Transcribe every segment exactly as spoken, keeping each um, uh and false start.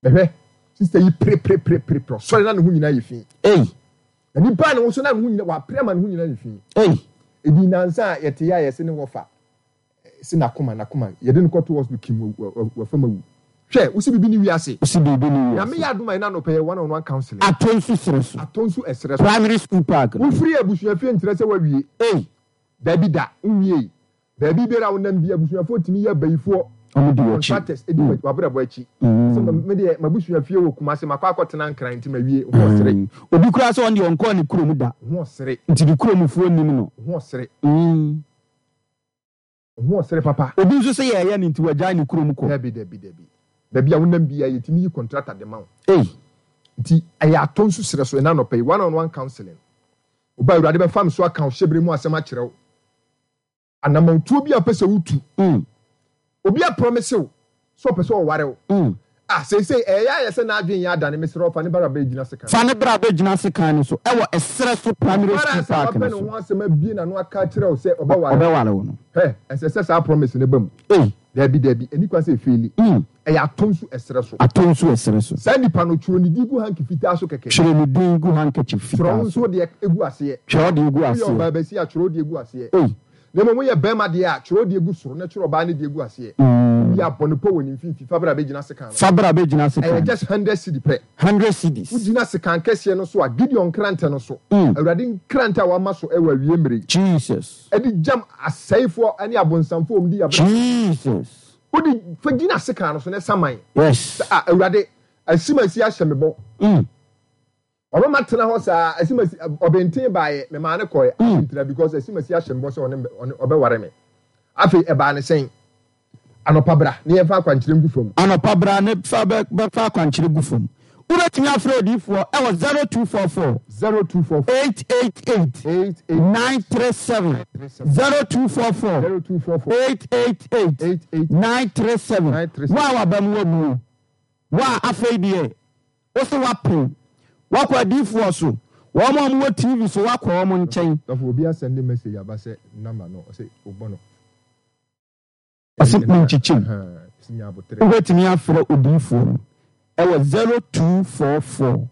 Bɛhwɛ, sister yi preprepreprepre, ɔsɔre na ne ho nyinaa yɛ fi. Ei. Na nipa ne ho so na ne ho nyinaa, wapere ama ne ho nyinaa yɛ fi. Ei. Ebi nansa a yɛte yɛ a yɛse ne wɔfa se n'akoma n'akoma yɛde no kɔto hospital kim wafam awu. Hwɛ, wosi biribi ne wiase. Wosi biribi ne wiase. Nyame yɛ adom a ɛna anɔpɛ yɛ one on one counseling. Atɔ nsu serɛ so. Atɔ nsu ɛserɛ so. Primary school park no. Wofiri abusuafie nkyerɛ sɛ wawie. Ei. Dabi da, wonwiei. Baabi biara a wonam bi, abusuafoɔ tumi yɛ abayifoɔ, Wɔn di w'akyi. contractors, di w'abrabɔ akyi. Sɛ me deɛ m'abusua fie wɔ Kumasi, makɔ akɔtena Nkran nti mawie. Ho ɔsere. Obi koraa sɛ ɔno deɛ ɔnkɔɔ ne kurom da. Ho ɔsere. Nti ne kuromfoɔ nnim no. Ho ɔsere. Ho ɔsere papa. Obi nso sɛ yɛɛyɛ no nti wagyae ne kurom kɔ. Dabi, dabi, dabi. Baabi a wonam biara yɛtumi yi contractor de ma wo. Ei. Nti ɛyɛ atɔ nsu serɛ so ɛna anɔpa yi, one on one counseling. Woba Awurade bɛfa me so aka wo hyɛberɛ mu asɛm akyerɛ wo. Anamɔntuo bi a wopɛ sɛ wotu. Mm. Obi aprɔmise wo sɛ ɔpɛ sɛ ɔware wo. Mm. Ah, seesei ɛyɛ ayɛ sɛ n'adwene yɛ adane, mesrɛ wo fa ne bra bɛgyina sekan. Fa ne bra bɛgyina sekan no so ɛwɔ ɛserɛ so primary Ɔbara school sɛ park wapɛ no ne so. ho asɛm abie n'ano aka akyerɛ wo sɛ ɔbɛware wo. Ɔbɛware wo no. Hwɛ, ɛsɛ sɛ saa promise no ba mu. Ei. Dabi, dabi, ɛnni kwan sɛ ɛfeeli. Mm. Ɛyɛ atɔ nsu ɛserɛ so. Atɔ nsu ɛserɛ so. Saa nipa no, twerɛ ne din gu hanky fitaa so kɛkɛ. Twerɛ ne din gu handkerchief Twerɛ wo fitaa nso so. deɛ gu aseɛ. Twerɛ wo deɛ gu Woyɛ aseɛ. ɔbaa basia a, twerɛ wo deɛ gu aseɛ. Ei. Na mmom woyɛ barima deɛ a, twerɛ wo deɛ gu soro na twerɛ ɔbaa no deɛ gu aseɛ. Mm. Wowie a, bɔ no pɔ wɔ ne mfimfini. Fa bra bɛgyina sekan no so. Fa bra bɛgyina sekan Ɛyɛ no just so. hundred cedi pɛ. Hundred cedis. Wogyina sekan kɛseɛ no so a, Gideon nkrantɛ no so, Mm. Awurade nkrantɛ a wama so wɔ awie mmerɛ yi. Jesus. Ɛde gyam asɛefoɔ ne abonsamfoɔ a wɔdi yɛn abrabɔ. Jesus. Wode fa gyina sekan no so na saman. Yes. Sɛ, ah, Awurade, asimasi ahyɛ me bɔ. Mm. Ɔbɛma tena hɔ saa, asimasi, ɔbɛnten baeɛ, memaa no kɔɛ, Mm. ntena because asimasi ahyɛ me bɔ sɛ ɔne, ɔne, ɔbɛware me. Afei, ɛbaa ne sɛn? Anɔpa bra, ne yɛmfa akwankyerɛ ngu fam. Anɔpa bra ne fa bɛ bɛfa akwankyerɛ gu fam. Wobɛtumi afrɛ odiyifoɔ ɛwɔ zero two four four zero two four four eight eight eight eight eight nine three seven zero two four four zero two four four eight eight eight eight eight nine three seven. nine three Wo seven. a waba mu wabuo, wo a afei deɛ wo se wapem, wakɔ adiyifoɔ so, wɔn a wɔwɔ T V so wakɔ wɔn nkyɛn. Dɔfo, obi asɛnde message aba sɛ number no, ɔsɛ wobɔ no. Ɔsɛ menkyekyem. Ɛhɛn, nya abotrɛ. Wobɛtumi afrɛ odiyifoɔ no ɛwɔ zero two four four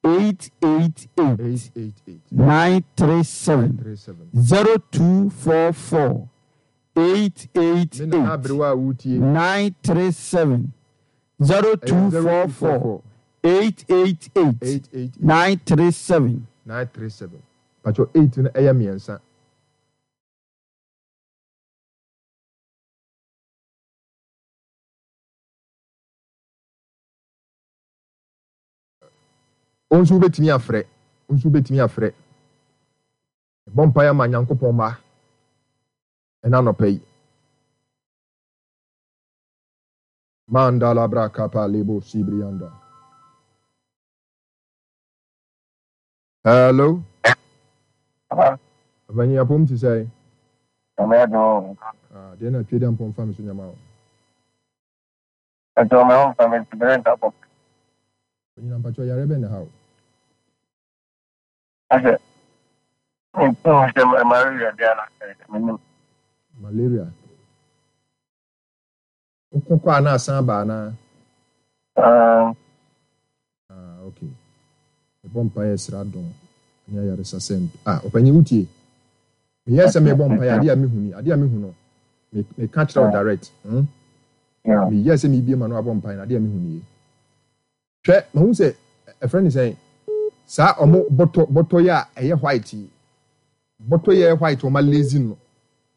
eight eight eight eight eight eight nine three seven three seven zero two four four eight eight Me nana eight aberewa a wotie. nine three seven zero two four four eight eight eight eight eight nine three seven nine three seven. Pacho eight no ɛyɛ mmiɛnsa. Wo nso wobɛtumi afrɛ. Wo nso wobɛtumi afrɛ. Bɔ mpaeɛ ama Nyankopɔn mma ɛna anɔpa yi. Mandala bra kapa lebo sibrianda. Hello. Avanyi apom ti sɛ. Amedo. Ah, deɛ na twedi ampɔn fa me so nyama o. Ɛtɔ me ho mfa me ti bere nta bɔ. Onyina mpacho yare bɛ na ha o. Asɛ. Ntu sɛ malaria bia na menim. Malaria. Wokɔ a na asan ba na. Ah. Ah, okay. Mebɔ mpaeɛ sra dɔm ne ayaresa sɛ ah, ɔpanyin wotie. Meyɛ sɛ mebɔ mpaeɛ ade a mehu ni, ade a mehu no. Me me ka kyerɛ wo direct. Hmm. Meyɛ sɛ mebie ma no abɔ mpaeɛ na ade a mehu ni. Hwɛ, mahu sɛ ɛfrɛ ne sɛn saa ɔmo bɔtɔ bɔtɔ yɛ a ɛyɛ white yi. Bɔtɔ yɛ white ɔmo lazy no.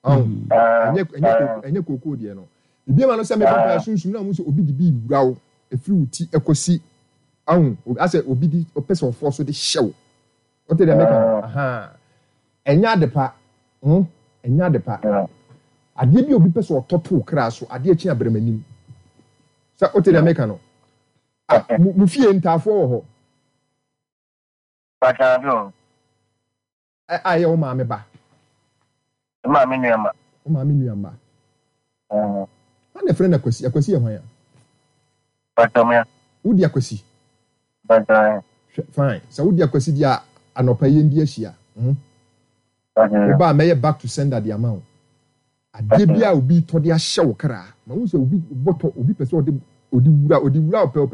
Ɔn. Ɛnyɛ ɛnyɛ ɛnyɛ kookoo deɛ no. Mebie ma no sɛ mebɔ mpaeɛ sunsum na mahu sɛ obi de bi wura wo efiri wo ti ɛkɔsi ɔn asɛ obi di ɔpɛ sɛ ɔfɔ so de hyɛ wo. Wote deɛ meka no? Aha. Ɛnyɛ ade pa. Hmm? Ɛnyɛ ade pa. Adeɛ bi a obi pɛ sɛ ɔtɔ to wo kra so, adeɛ kye abrɛmanim. Sɛ wote deɛ meka no? Ah, mo mo fie ntaafoɔ wɔ hɔ. Pakyɛ bi o. Ɛ a ɛyɛ wo maame ba. Me maame nua Wo maame nua mma. Hwan na ɛfrɛ no Akwasi? Akwasi yɛ hwan a? Pakyɛ me. Wodi Akwasi? Pakyɛ. Hwɛ, fine. Sɛ wodi Akwasi di a anɔpa yɛn di ahyia. Hmm? Pakyɛ. Woba a mɛyɛ back to sender de ama wo. Adeɛ bi a obi tɔ de ahyɛ wo kra. Ma wo sɛ obi bɔtɔ, obi pɛ sɛ ɔde ɔde wura, ɔde wura ɔpɛ ɔpanyin.